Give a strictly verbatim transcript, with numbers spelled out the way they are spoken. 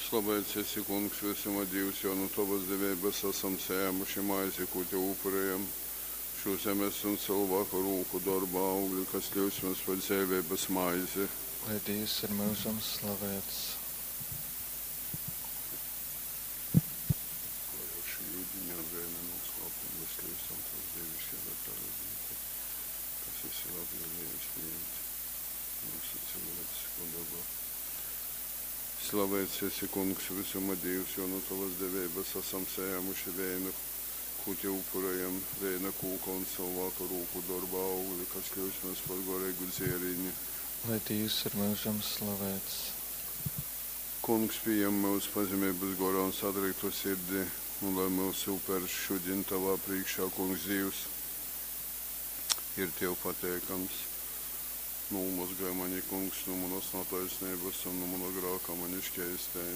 Slaveits esi, Kungs, vysuma Dīvs, jo nu tovas deveibas asam sajēmuši maizi, kū tev upurejam, šū zemes un cylvāka rūku dorba augli, kas kļyust mums par dzeiveibas maizi. Lai Dīvs ir myužam slavēts. Lai ar šī yudiņa un vēna noslēpumu mēs kļūstam tavs dievišķi parādīti, kas esi labvēlīgs pieņemt mūsu cilvēcisko dabu. Slavēts esi, Kungs, visuma Dievs, jo no tavas deveibas esam sajēmuši vēnu, ko te upurējam, vēna kūka un cilvēka rūku darba augli, kas kļūst mums par garīgu dzēriņu. Lai Dievs ir myužam slavēts. Kungs, pieņem mūsu pazemības gorā un satriektu sirdi, un lai mūsu upers šodien tavā priekšā, Kungs, Dievs, ir tev pateikams. Nomazgāj mani, Kungs, no manas netaisnības un no mana grāka mani šķeistēji.